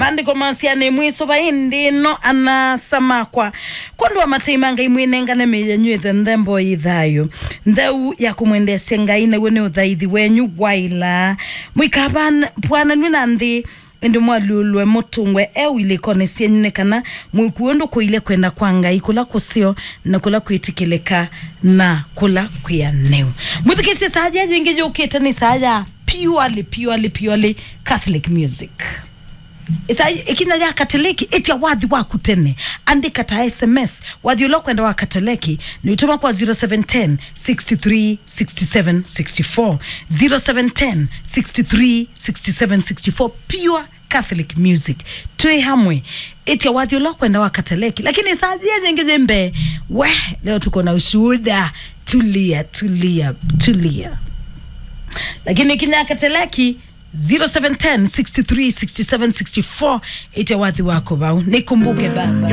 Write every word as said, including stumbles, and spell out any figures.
Maandĩko masya, nĩmwĩsũva ĩndĩ ĩno, ana-a-asa makwa, kwondũ wa matei ma Ngai, mwĩnengane mĩĩ yenyu ĩthe nthembo yĩ thayũ, ntheu ya kũmwendeesya Ngai, naw'o nĩ ũthaithi wenyu waĩla. Mũikapwananw'e na nthĩ, ĩndĩ mwalyũlwe mũtũngwe eu ilĩkonĩ syenyu, nĩ kana mwĩkue ũndũ kũilye kwenda kwa Ngai, kũla kũseo na kũla kwĩtĩkĩlĩka na kũla kwĩanĩu. Mwĩthukĩĩsye saa ya yĩngĩ yũkĩte, nĩ saa ya purely, purely, purely Catholic music. Ĩsa ĩkinya ya Kateleki, ĩtya wathi waku tene. Andĩka ta S M S. Wathi ũla ũkwenda wa Kateleki, nĩ ũtũma kwa zero seven ten, six three, six seven, six four. Zero seven ten, six three, six seven, six four. Pure Catholic music. Twĩ hamwe. Ĩtya wathi ũla ũkwenda wa Kateleki. Lakini saa yĩngĩ yĩ mbee, we, leo tuko na ushuhuda. Tulia, tulia, tulia. Lakini ĩkinya ya Kateleki, zero seven ten, six three, six seven, six four, ĩtya wathi wako vau. Nikumbuke Baba.